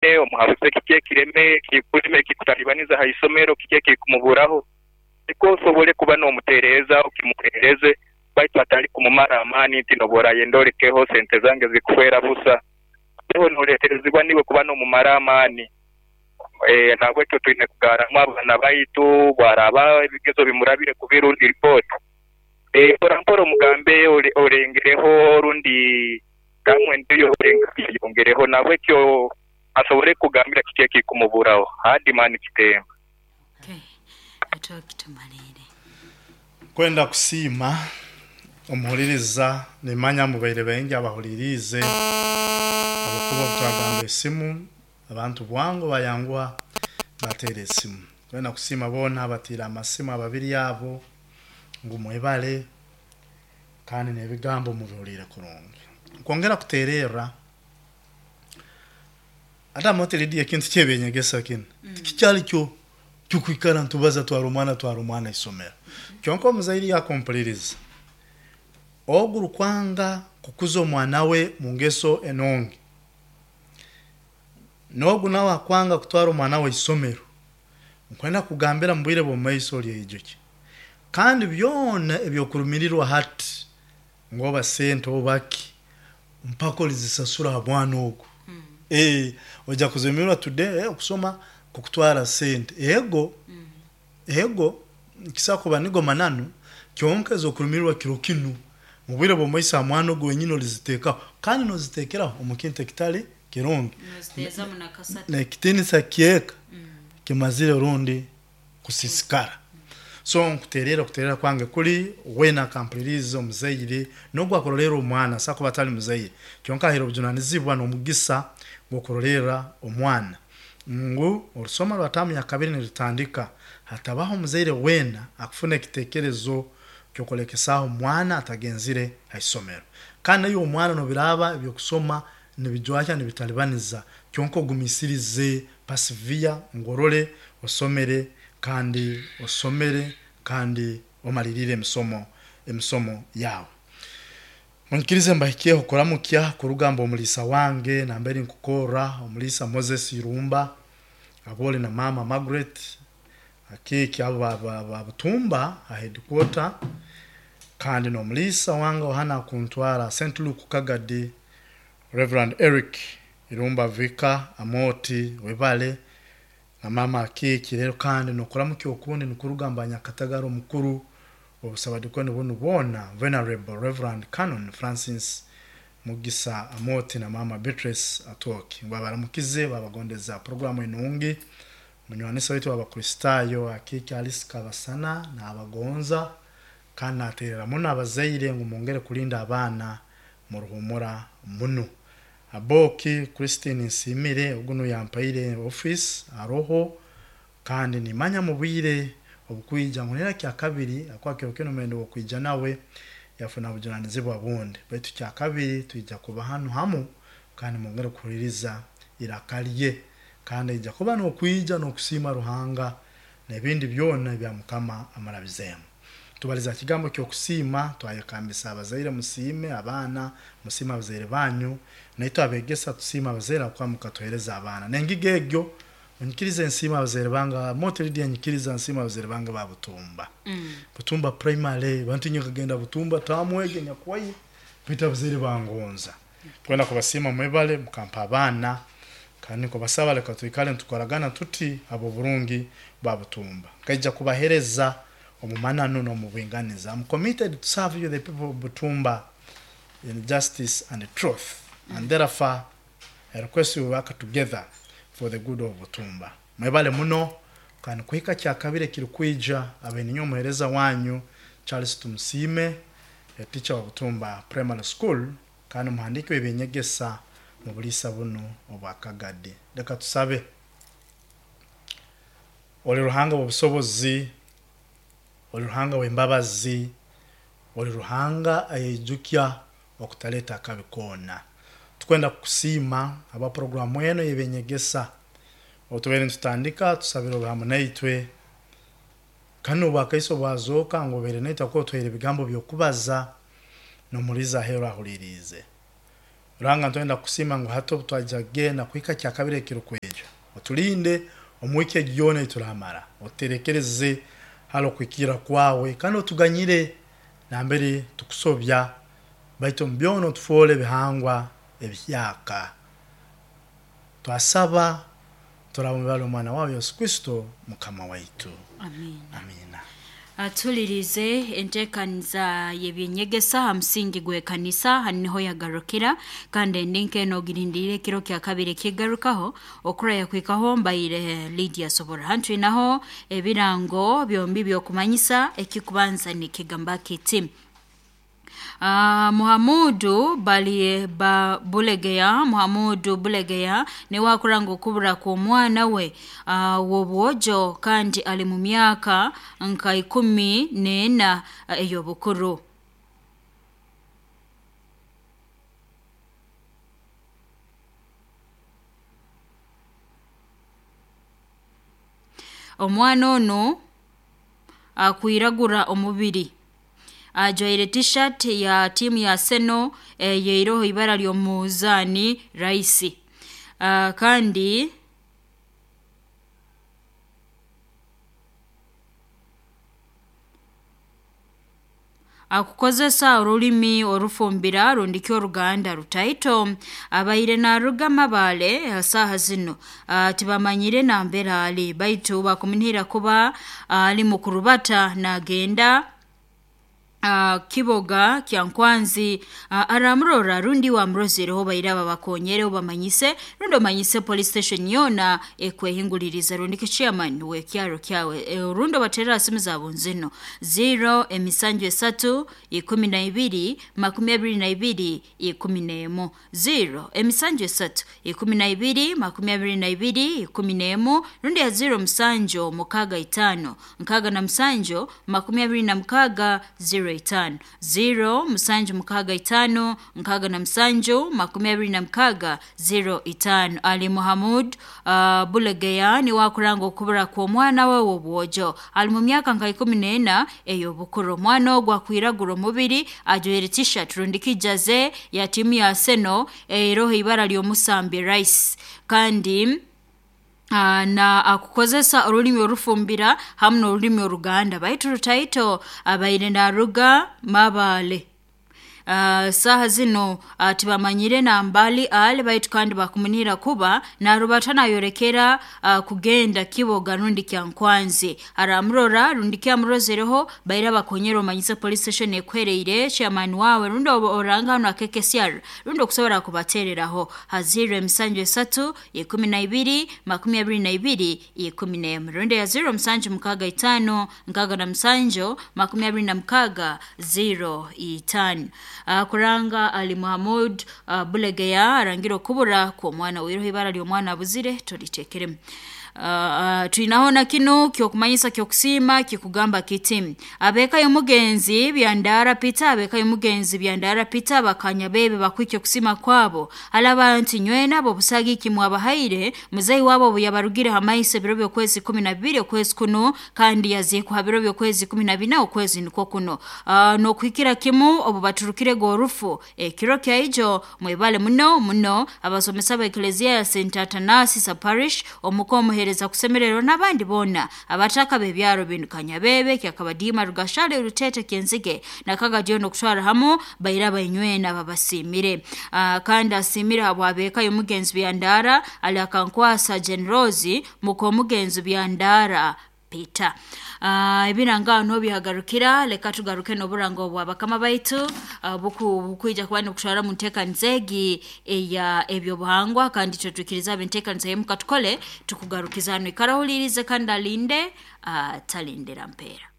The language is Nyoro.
Omuhabuze kiki ekireme ekikulema ekikutalibaniza ha isomero, kiki ekikumuburaho, nukwo osobole kuba n'omutereeza okimuheereze baitu atali kumumara amaani nti nobu orayenda olekeho sente zange zikufeera busa. Aho noleterezibwa niiwe kuba n'omumara amaani. Nahabwekyo twine kugarramu abaana baitu bwaraaba ebigezo bimurabire kubi rundi ripooti, mpora mpora omugambe olengereho rundi Gamu endiyo eyongereho nahabwekyo asobole kukugambira kiki ekikumuburaho. Hardman Kitemba. Okay, atoki tumaliire. Nkwenda kusiima omuhuririza, nimanya mubaire baingi abahuririize ahabw'okuba obu twagamba esimu abantu bwangu bayanguha bateera esimu. Nkwenda kusiima boona abatiire amasimu ababiri abo ngu mwebale. Kandi n'ebigambo mubihuliire kurungi. Nkwongera kuteererra, Adamu ati, Lidia, ekintu ky'eby'enyegesa kinu tikikyali kyo ky'okwikara nitubaza twara omwana twara omwana isomero. Kyonka omuzaire yakumpuliriza, ogu orukwanga kukuza omwana we mu ngeso enungi, n'ogu nawe akwanga kutwara omwana we isomero, nkwenda kukugambira mu bwire bw'omu maiso olyeijukya. Kandi byona eby'okurumirirwa hati ngu oba sente oba ki, mpaka olizisasura ha mwana ogu. Ee, oija kuzirumirirwa today, ee, okusoma kukutwara sente. Ego, ego, nikisobora kuba nigo mananu, kyonka ez'okurumirirwa kiro kinu, mu bwire bw'omu maiso ha mwana ogu wenyini oliziteekaho, kandi n'oziteekeraho omu kintu ekitali kirungi. Noziteezamu nakasatu. N'ekitiinisa ky'eka kimazire rundi kusiisikara. So nkuteererra okuteererra kwange kuri, weena akampuliriize omuzaire n'ogu akurolerra omwana asobola kuba atali muzaire kyonka ahaire obujunanizibwa n'omugisa gw'okurolerra omwana ngu orusoma rwa taamu ya kabiri nirutandika hatabaho omuzaire weena akufuna ekiteekerezo ky'okulekesaaho omwana atagenzire ha isomero. Kandi naiwe omwana n'obiraaba eby'okusoma nibijwahya nibitalibaniza kyonka ogumiisirize Persevere ngu orole osomere kandi osomere kandi omaliriire emisomo emisomo yaawe. Munyikirize mbahikyeho kuramukya kuruga mba omuliisa wange nambere nkukorra omuliisa Moses Irumba abole na maama Margaret Akiiki abo ba Butumba ha headquarter kandi n'omuliisa wange ohana akuntwara St Luke Kagadi Rev. Eric Irumba Vicar Amooti webale na maama Akiiki rero kandi nokuramukya okundi nikuruga mba Nyakatagara omukuru wobusabadikoni bunu bwona Venerable Rev. Canon Francis Mugisa Amooti na maama Beatrice Atwoki ngu babaramukize babagondeza program enungi. Munywanisa waitu w'Abakristaayo Akiiki Alice Kabasana naabagonza kandi naateerera muno abazaire ngu mwongere kulinda abaana muruhumura muno. Aboki Christine Nsiimire ogu nuwe yampaire ofiisi aroho kandi nimanya mu bwire obukwija ngu nera Kyakabiri ahakuba kiro kinu mbaire ndi w'okwija nawe yafuna bujunanizibwa bundi baitu Kyakabiri twija kuba hanu hamu kandi mwongere kuhuliiriza iraka lye. Kandi aija kuba n'okwija n'okusiima Ruhanga n'ebindi byona ebya Mukama amurabizeemu. Tubaliza ha kigambo ky'okusiima, twayekambisa abazaire musiime abaana, musiime abazaire banyu, naitwe abegesa tusiime abazaire habwokuba mukatuhereza abaana. N'engiga egyo, onyikirize nsiime abazaire bange, Moti Lydia nyikiriza nsiime abazaire bange ba Butumba. Butumba Primary, bantu inywe nkagenda Butumba taamu egi enyakuwaire, baitu abazaire bangonza. Twena kubasiima mwebale mukampa abaana, kandi nkubasaba leka twikale nitukoragana tuti habw'oburungi bwa Butumba. Nkaija kubahereza omu mananu n'omu bwinganiza. I'm committed to serve you the people of Butumba in justice and truth and therefore I request we work together for the good of Butumba. Mwebale muno kandi kuhika Kyakabiri ekirikwija abe ninyowe omuhereza wanyu Charles Tumusiime, a teacher wa Butumba Primary School kandi omuhandiiki w'eby'enyegesa mu buliisa bunu obwa Kagadi. Leka tusabe. Oli Ruhanga w'obusobozi, oli Ruhanga w'embabazi, oli Ruhanga ayeijukya okutaleta akabi koona. Tukwenda kukusiima habwa puroguramu enu ey'eby'enyegesa. Obu tubaire nitutandika, tusabire obe hamu naitwe. Kandi n'obwakaiso bwazooka ngu obaire naitwe habwokuba otuhaire ebigambo by'okubaza n'omuhuriizi aheeru ahuriiriize. Ruhanga, ntwenda kusiima ngu hati obu twaija kugenda kuhika kyakabiri ekirukwija, otulinde omu wiiki egi yoona eituramara, otuterekereze hali okuhikirra kwawe, kandi otuganyire nambere tukusobya, baitu omu byona otufoole ebihangwa ebihyaka. Twasaba turaba omwana wawe Yesu Kristo Mukama waitu. Amina. Amina. Atulirize enteekaniza y'ebyenyegesa ha musingi gw'ekanisa hanu niho yagarukira, kandi endi nk'eno ogirindiriire ekiro kya kabiri ekigarukaho okuraya kuhikaho mbaire Lydia Sobora. Hanu twinaho ebirango byombi by'okumanyisa. Ekikubanza nikigamba kiti: Muhamudu bali ba Bulegeya, Muhamudu Bulegeya niwe akuranga okubura kw'omwana we w'obwojo kandi ali mu myaka nka 14 ey'obukuru. Omwana onu akwiragura omubiri, ajwaire t-shirt ya tiimu ya Arsenal eyeiroho ibara ly'omuzaani Rice, kandi akukozesa orulimi orufumbira rundiki oruganda rutaito. Abaire naruga Mabale ha saaha zinu tibamanyire nambere ali, baitu bakumunihira kuba ali mukurubata nagenda Kiboga Kyankwanzi. Aramurora rundi wamurozereho baire aba bakonyere obamanyise rundi omanyise police station yoona ekwehinguliriza rundi ki chairman w'ekyaro kyawe, rundi obaterera simu zabo nzino 0 emisanju esatu 12 22 11, 0 emisanju esatu 12 22 11, rundi ya 0 musanju mukaga itano nkaga na musanju 26 05, 0 musanju mukaga itano nkaga na musanju 26 05. Ali Muhamud Bulegeya niwe akuranga okubura kw'omwana we w'obwojo ali mu myaka nka 14 ey'obukuru. Omwana ogu akwiragura omubiri, ajwaire t-shirt rundi kijaze ya tiimu ya Arsenal eroho ibara ly'omusambi Rice, kandi na akukozesa orulimi orufumbira hamu n'orulimi oruganda baitu rutaito. Abaire naruga Mabale. Saaha zino tibamanyire nambali ali, baitu kandi bakumunihira kuba narubata nayorekera kugenda Kiboga rundi Kyankwanzi. Aramurora rundi kyamurozereho baire bakonyera omanyise police station ekwereire, chairman wawe rundi oranga hanu akekesyar rundi okusobora kubatereraho ha 0 emisanju esatu 12 22 11, rundi ya 0 musanju mukaga itano nkaga na musanju 26 05. Kuranga Ali Muhamud Bulegeya arangira okubura kw'omwana wiroho ibara ly'omwana abuzire tolitekeremu. Twinaho na kinu kyokumanyisa kyokusiima kikugamba kiti: abeka y'omugenzi Byandara Peter, abeka y'omugenzi Byandara Peter bakanya bebe bakwikya okusima kwabo alaba nti nywena abo busagiki mwabahaire muzeyi wabo obu yabarugire hamaisa ebiro by'okwezi 12 okwezi kuno, kandi yaziikwa ha biro by'okwezi 14 okwezi nikwo kuno, n'okuhikira kimu obu baturukire gorufu ekiro kyaijo. Mwebale muno muno abasomesa ba Eklezia ya St Athanasius Parish, omuka omuhereza kusemererwa n'abandi boona abataka b'ebyaro binu Kanyabebe, Kyakabadiima, Rugashale, Rutete, Kyenzige nakagadio n'okutwara hamu baira bainywena babasiimire. Kandi asiimire habwabeka y'omugenzi Byandara ali akankwasa Generosi muka omugenzi Byandara Peter. Ebiranga no byagarukira, leka tugaruke n'oburango bwa bakama baitu bukwija kuba nikutwara mu nteekaniza egi eya ebyobuhangwa, kandi twetwikiriza abenteekaniza yemuka tukole tukugarukiza hano. Ikara ohulirize kandi alinde, talindira mpeera.